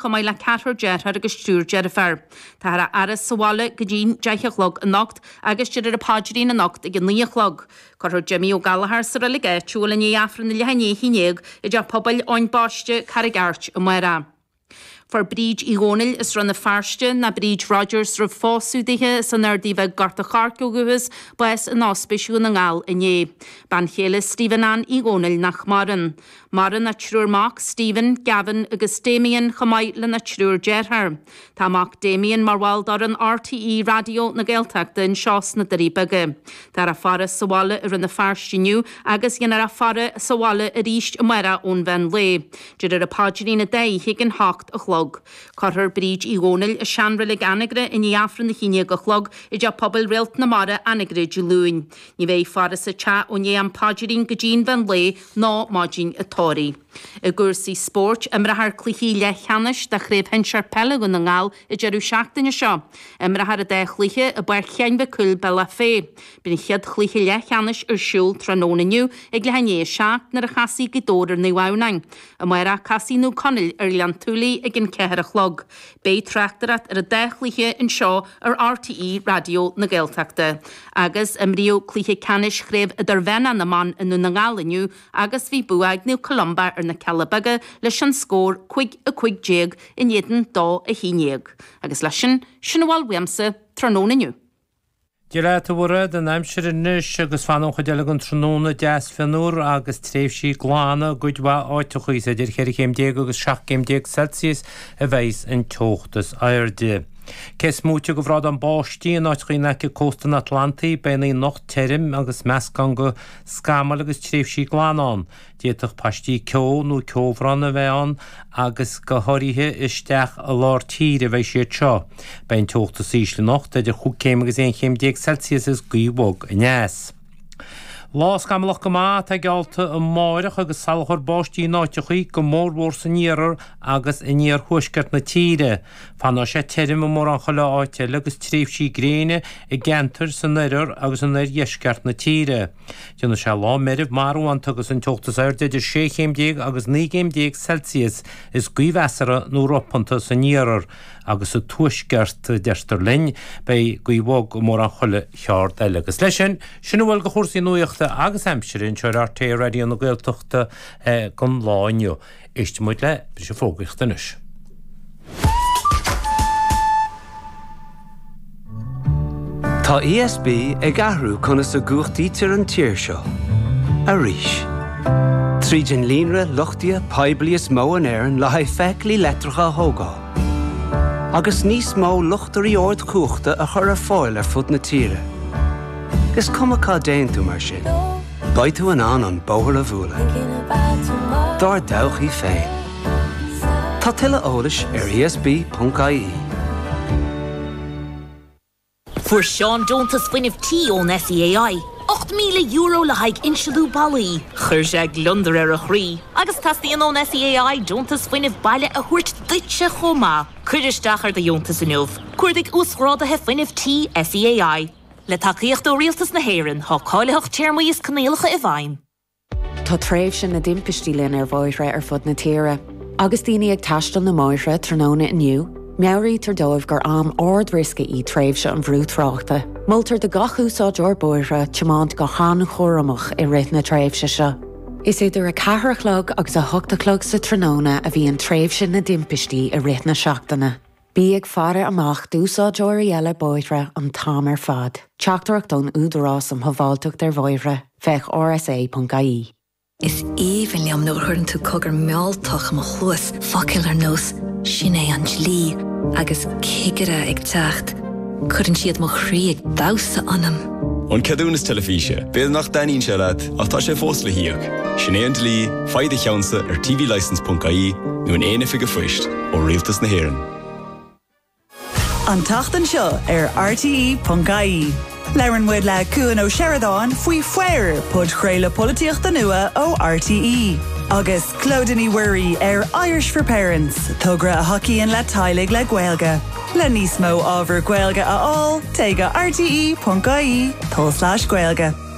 chomh maith le ceathrar deartháir agus triúr deirféar. Táthar á fhaire sa bhaile go dtí'n 10 a chlog anocht agus déarfar an paidrín anocht ag a 9 a chlog. Cuirfear Jimmy Ó Gallchóir sa reilig áitiúil i ndiaidh Aifreann a leath i ndiaidh a 11 i dTeach Pobail Eoin Baiste, Carraig Airt, amárach. Fuair Bríd Uí Dhónaill as Rann na Feirste, ná Bríd Rogers roimh phósadh dithe, as an Ardaidh Bheag Gort a' Choirce ó dhúchas, bás in Ospís Dhún na nGall inné. Bean chéile Stephen Ann Uí Dhónaill nach maireann. Maireann a triúr mac, Stephen, Gavin agus Damien chomh maith lena triúr deartháir. Tá a mac Damien mar bhall d'fhoireann RTÉ Raidió na Gaeltachta anseo sna Doirí Beaga. Táthar á faire sa bhaile i Rann na Feirste inniu agus dhéanfar é faire sa bhaile arís amárach ón mheán lae. Déarfar an paidrín an dá oíche ag an hocht a chlog. Cuirfear Bríd Uí Dhónaill i seanreilig Anagaire i ndiaidh Aifreann a 11 a chlog i dTeach Pobail Réalt na Mara, Anagaire Dé Luain. Ní bheidh faire sa teach ó ndiaidh an phaidrín go dtí an mheán lae ná maidin an tórraimh. I gcúrsaí spóirt, imreofar cluichí leathcheannais de Chraobh Shinsir Peile Dhún na nGall an deireadh seachtaine seo. Imreofar an dá chluiche i bPáirc Sheáin Mhic Cumhaill, Bealach Féich. Beidh an chéad chluiche leathcheannais ar siúl tráthnóna inniu ag leath i ndiaidh a 7 nuair a chasfaidh Gaoth Dobhair ar Naomh Adhamhnáin. Amárach casfaidh Naomh Conaill ar Ghleann tSúilí ag an 4 a chlog. Beidh tráchtaireacht ar an dá chluiche anseo ar RTÉ Raidió na Gaeltachta. Agus imríodh cluiche ceannais Chraobh Idirmheánach na mBan i nDún na nGall inniu agus bhí bua ag Naomh Columba ar na Cealla Beaga leis an scór 5, 15 in éadan 2, 11. Agus leis sin, sin a bhfuil uaimse tráthnóna inniu. Dia leat a Mhairéad, an aimsir anois agus fanfaidh an chuid eile den tráthnóna deas fionnuar agus tréimhsí glana i gcuid mhaith áiteacha. Is idir cheithre chéim déag agus 17 céim Celsius a bheidhs an teocht is airde. Cé is móite de bhrádán báistí in áiteacha in aice cósta an Atlantaigh, beidh an oíche anocht tirim agus meascán de scamaill agus tréimhsí glana ann. D'fhéadfadh paistí ceo nó ceobhrán a bheith ann agus go háirithe isteach i lár tíre a bheidh siad seo. Beidh an teocht is ísle anocht idir chúig céim agus 11 chéim Celsius agus gaoth bhog aneas. Lá scamallach go maith atá geallta amáireach agus salachar báistí in áiteachaí, go mórmhór san iarthar agus in iarthuaisceart na tíre. Fanfaidh sé tirim i mórán chuile áit eile agus tréimhsí gréine i gceantair san oirthear agus in oirdheisceart na tíre. Déanfaidh sé lá meirbh marbhánta agus an teocht is airde idir 16 chéim agus 19 gcéim Celsius is gaoth mheasartha nó ropanta san iarthar agus sa tuaisceart, deirtear linn. Beidh gaoth bhog i mórán chuile cheard eile. Agus leis sin, sin a bhfuil de chúrsaí nuachta agus aimsire anseo ar RTÉ Raidió na Gaeltachta don lá inniu. Éistfidh muid le briseadh fógraíochta anois. Tá ESB ag athrú conas a gcumhachtaítear an tír seo. Arís. Tríd an líonra luchtaithe poiblí is mó in Éirinn le haghaidh feithiclí leictreacha a thógáil. Agus níos mó luchtairí ardchumhachta a chur ar fáil ar fud na tíre. Is cuma cá dtéann tú mar sin, beidh tú in ann an bóthar a bhualadh. Dár dtodhchaí féin. Tá tuilleadh eolais ar esb.ie. Fuair Seán deontas fuinnimh tí ón SEAI, €8,000 le haghaidh insealú ballaí. Chuir sé gliondar ar a chroí. Agus teastaíonn ón SEAI deontas fuinnimh baile a thabhairt duitse chomh maith. Cuir isteach ar do dheontas inniu. Cuardaigh Uasghráduithe Fuinnimh Tí SEAI. Le tacaíocht ó Rialtas na hÉireann, tá cáilitheacht, téarmaí is coinníollacha i bhfeidhm. Tá tréimhse na dtimpistí linn ar bhóithre ar fud na tíre. Agus daoine ag taisteal na mbóithre tráthnóna inniu, meabhraítear dóibh gur am ard-riosca í tréimhse an bhrú tráchta. Moltar do gach úsáideoir bóithre tiomáint go han-chúramach i rith na tréimhse seo. Is idir 4 a chlog agus 8 a chlog sa tráthnóna a bhíonn tréimhse na dtimpistí i rith na seachtaine. Bí ag faire amach d'úsáideoirí eile bóithre an t-am ar fad. Teachtaireacht ón Údarás um Shábháilteacht ar Bhóithre, féach rsa.ie. Is aoibhinn liom nuair a chuireann tú cogar mealltach i mo chluas, focail ar nós 'sin é an dlí' agus 'cigire ag teacht'. Cuireann siad mo chroí ag damhsa ionam. An ceadúnas teilifíse, b'fhéidir nach dtaitníonn sé leat, ach tá sé fós le híoc. Sin é an dlí, faigh do cheannsa ar tvlicence.ie nó in aon oifig an phoist ó Rialtas na hÉireann. An tseachtain seo ar RTÉ.ie, labhrann muid le Cuan Ó Seireadáin faoi Fair, podchraoladh polaitíochta nua ó RTÉ, agus Clodagh Ní Mhuirí ar Irish for Parents, togra a thacaíonn le teaghlaigh le Gaeilge. Le níos mó ábhar Gaeilge a fháil, téigh go rte.ie tulslais Gaeilge.